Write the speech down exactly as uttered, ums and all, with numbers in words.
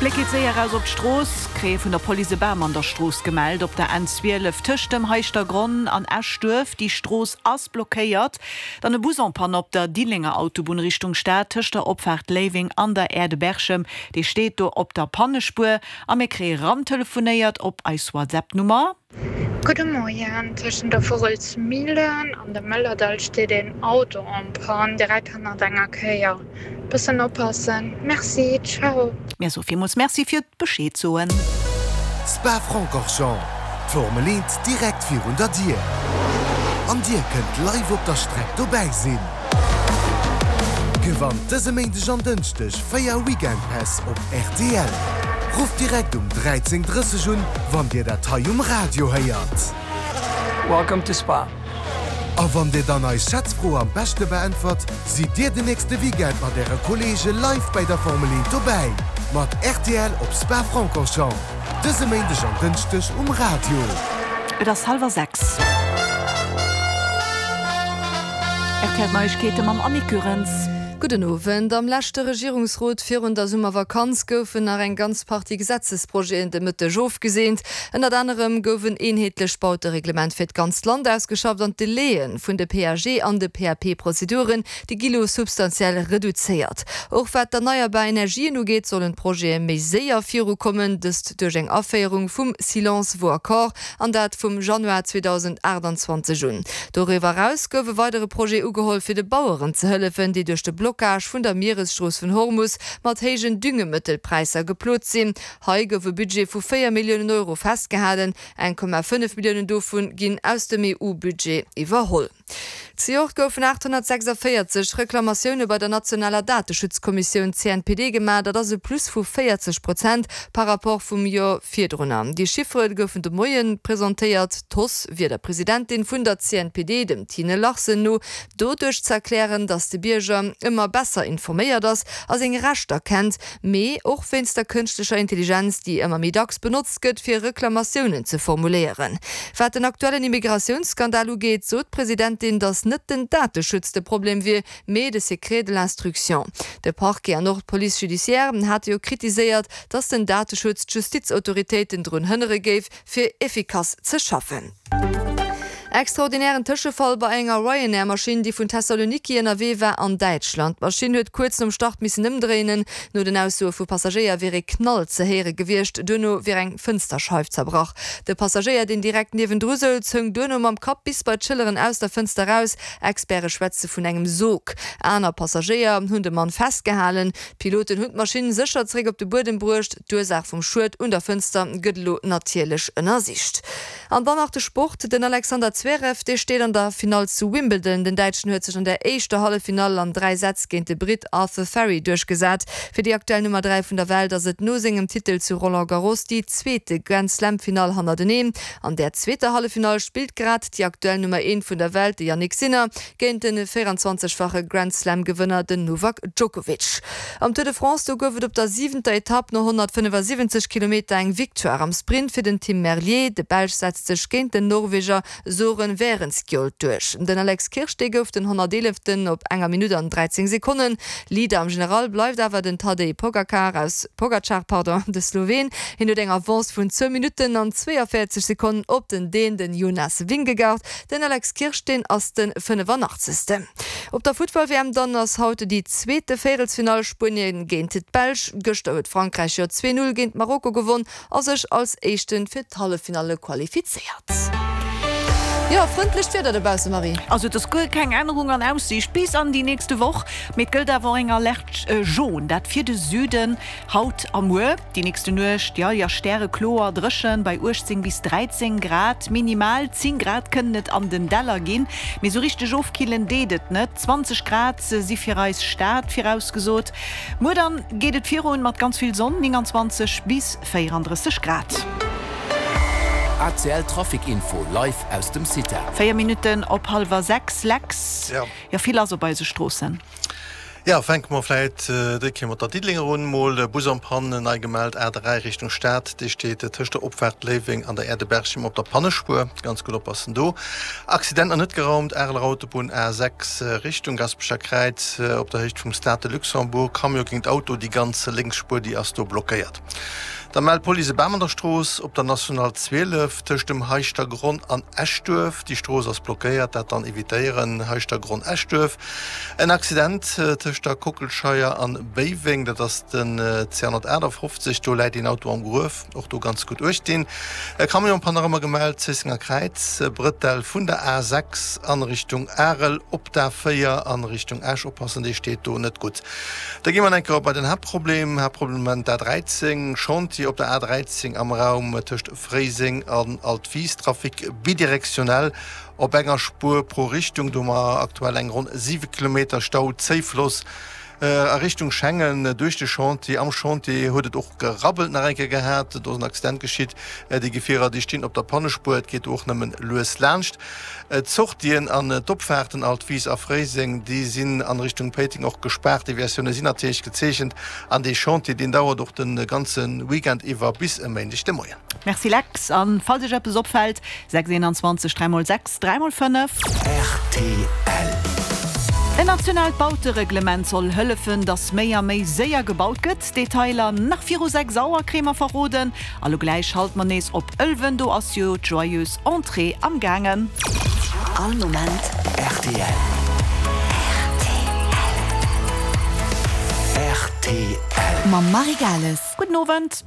Bléck geet séier eraus op d'Strooss, kréie vun der Police e Bam an der Strooss gemellt op der N zwielef tëscht dem Heischtergronn an Eschduerf. Déi Strooss ass blockéiert. Dann e Bus en panne op der Diddelenger Autobunn Richtung Stad tëscht der Opfaart Léiweng an der Aire de Berchem. Dee steet do op der Pannespuer a mir kréie rantelefonéiert op eis WhatsApp-Nummer. Gudde Moien, tëschent der Vugelsmillen an dem Mëllerdall steet een Auto en panne, direkt hannert enger Kéier. Bëssen oppassen. Merci, ciao. Mir soe villmools Merci fir d'Bescheed soen. Spa-Francorchamps, d'Formel eent direkt virun der Dier. An Dir kënnt live op der Streck dobäi sinn. Gewannt dëse Méindeg an Dënschdeg véier Weekend-Päss op R T L. Rufft direkt um dräizéng drësseg un, wann Dir dat hei um Radio héiert. Welcome to Spa. A wann Dir dann eis Schätzfro am beschte beäntwert, sidd Dir den nächste Weekend mat Äre Kolleege live bei der Formel eent dobäi. Mat R T L op Spa-Francorchamps. Dëse Méindeg an Dënschdeg um Radio. Et ass hallwer sechs. R T L Neiegkeete mam Annick Goerens. Gudden Owend. Am leschte Regierungsrot virun der Summervakanz goufen nach eng ganz Partie Gesetzesprojeten de Mëtteg ofgeseent. Ënnert anerem gouf en eenheetlecht Bautereglement fir d'ganzt Land ausgeschafft an d'Delaie vun de P A G an de P A P-Prozeduren, déi gi lo substantiell reduzéiert. Och wat d'erneierbar Energien ugeet, sollen d'Projete méi séier virukommen, dëst duerch eng Aféierung vum Silence vaut accord an dat vum Januar zweedausendaachtanzwanzeg un. Doriwwer eraus gouf e weidere Projet ugeholl fir de Baueren ze hëllefen, déi duerch de Blockage vun der Mieresstrooss vun Hormus mat héijen Düngemëttelpräisser geplot sinn. Hei gouf e Budget vu véier Milliounen Euro festgehalen, eng Komma fënnef Milliounen dovun ginn aus dem E U-Budget iwwerholl. Zejoert goufen aathonnertsechsandvéierzeg Reklamatioune bei der nationaler Dateschutzkommissioun C N P D gemaach, dat ass e Plus vu véierzeg Prozent par rapport vum Joer virdrun. Déi Chiffere goufen de Moie presentéiert. D'Hausse wier der Presidentin vun der C N P D, dem Tine Larsen no, doduerch ze erklären, datt de Bierger ëmmer besser informéiert ass a seng Rechter kennt, mee och wéinst der kënschtlecher Intelligenz, déi ëmmer méi dacks benotzt gëtt fir Reklamatiounen ze formuléieren. Wat den aktuellen Immigratiounsskandal ugeet, sot d'Presidentin, datt net den Dateschutz de Problem wier, mee de Secret de l'instruction. De Parquet an och d'Police judiciaire hate jo kritiséiert, datt den Dateschutz d'Justizautoritéiten drun hënnere géif, fir effikass ze schaffen. Extraordinären Tëschefall bei enger Ryanair-Maschinn, déi vun Thessaloniki ënnerwee war an Däitschland. D'Maschinn huet kuerz nom Start missen ëmdréinen. No den Aussoe vu Passagéier wier e Knall ze héiere gewiescht, duerno wier eng Fënsterscheif zerbrach. De Passagéier, deen direkt niewendru souz, houng duerno mam Kapp bis bei d'Schëlleren aus der Fënster raus. Experte schwätze vun engem Sog. Aner Passagéier hunn de Mann festgehalen. D'Piloten hunn d'Maschinn sécher zeréck op de Buedem bruecht. D'Ursaach vum Schued un der Fënster gëtt elo natierlech ënnersicht. An dann nach de Sport, den Alexander Zverev, dee steet an der Finall zu Wimbledon. Den Däitschen huet sech an der éischter Halleffinall an dräi Sätz géint de Britt Arthur Fery duerchgesat. Fir déi aktuell Nummer dräi vun der Welt ass et no sengem Titel zu Roland Garros déi zweete Grand-Slam-Finall hannerteneen. An der zweeter Halleffinall spillt grad déi aktuell Nummer eent vun der Welt, de Jannik Sinner, géint de véierenzwanzegfache Grand-Slam-Gewënner, den Novak Djokovic. Am Tour de France do gouf et op der siwenter Etapp no honnertfënnefasiwwenzeg Kilometer eng Victoire am Sprint fir den Tim Merlier. De Belsch setzt sech géint den Norweger Soren Wærenskjold duerch. Den Alex Kirsch, dee gouf den honnerteeleften op enger Minutt an dräizéng Sekonnen. Leader am General bleift awer den Tadej Pogacar aus Pogacar, pardon, de Sloween. Hien huet eng Avance vun zwou Minutten an zweeënvéierzeg Sekonnen op den Dän, den Jonas Vingegaard. Den Alex Kirsch, deen ass de fënnefanaachtzegsten. Op der Futtball-W M dann ass haut déi zweete Véierelsfinall, Spuenien géint d'Belsch. Gëschter huet Frankräich jo zwee Null géint Marokko gewonn a sech als Éischte fir d'Halleffinalle qualifizéiert. Jo, frëndlecht Wieder dobausse, Marie. Also et ass guer keng Ännerung an Aussiicht bis an déi nächste Woch, mee et gëllt awer och eng Alerte jaune, dat fir de Süden haut a muer. Déi nächste Nuecht, jo, jo, stärekloer, dréchen bei uechtzéng bis dräizéng Grad, minimal zéng Grad kënnen et an den Däller ginn, mee sou richteg ofkillen deet et net. Zwanzeg Grad si fir eis Stad virausgesot. Muer dann geet et virun mat ganz vill Sonn, nénganzwanzeg bis véierandrësseg Grad. A C L Trafic Info live aus dem CITA. Véier Minutten op hallwer sechs, Lex. Ja. Jo, vill lass op eise Stroossen. Jo, fänke mer vläit déi Kéier mat der Diddelenger un. Mol Bus en panne, nei gemellt, A dräi Richtung Stad, dee steet tëscht der Opfaart Léiweng an der Aire de Berchem op der Pannespuer. Ganz gutt oppassen do. Accident nach net geraumt, Areler Autobunn A sechs Richtung Gaspecher Kräiz op der Héicht vum Stade de Luxembourg, Camion géint Auto, déi ganz lénks Spuer déi ass do blockéiert. Da mellt d'Police e Bam an der Strooss op der National zwielef tëscht dem Heischtergronn an Eschduerf. Déi Strooss ass blockéiert, dat dann evitéieren, Heischtergronn, Eschduerf. En Accident tëscht der Kockelscheier an Béiweng, dat ass den C honnertaachtafoffzeg, do läit een Auto am Gruef, och do ganz gutt uecht dinn. E Camion Panorama gemellt, Zéissenger Kräiz, Brëttel vun der A sechs an Richtung Arel op d'A véier an Richtung Esch, oppassen, déi steet do net gutt. Da gi mer enker op bei den Haaptproblem, Haaptproblem am Moment d'A dräizéng, Chantier op der A dräizéng am Raum tëscht Fréiseng an Altwis, Trafic bidirektionell op enger Spuer pro Richtung. Do hu mer aktuell eng ronn siwe Kilometer Stau, Zéifloss a Richtung Schengen duerch de Chantier. Am Chantier huet et och gerabbelt nach eng Kéier gehat, do ass en Accident geschitt. Déi Gefierer, déi stinn op der Pannespuer, et geet do och nëmmen lues laanscht. D'Sortien an d'Opfaarten Altwis a Fréiseng, déi sinn an Richtung Péiteng och gespaart. Deviatioune sinn natierlech gezeechent an dee Chantier, deen dauert och de ganze Weekend iwwer bis e Méindeg de Moien. Merci Lex, an falls iech eppes opfällt, sechs eenanzwanzeg dräi mol sechs dräi mol fënnef. Rtl. En nationaalt Bautereglement soll hëllefen, datt méi a méi séier gebaut gëtt. Detailer nach viru sechs Auer kréie mer verroden. A lo gläich schalte mer nees op Ëlwen, do ass jo d'Joyeuse Entrée am gaangen. All Moment rtl. Rtl. Mam Marie Gales. Gudden Owend.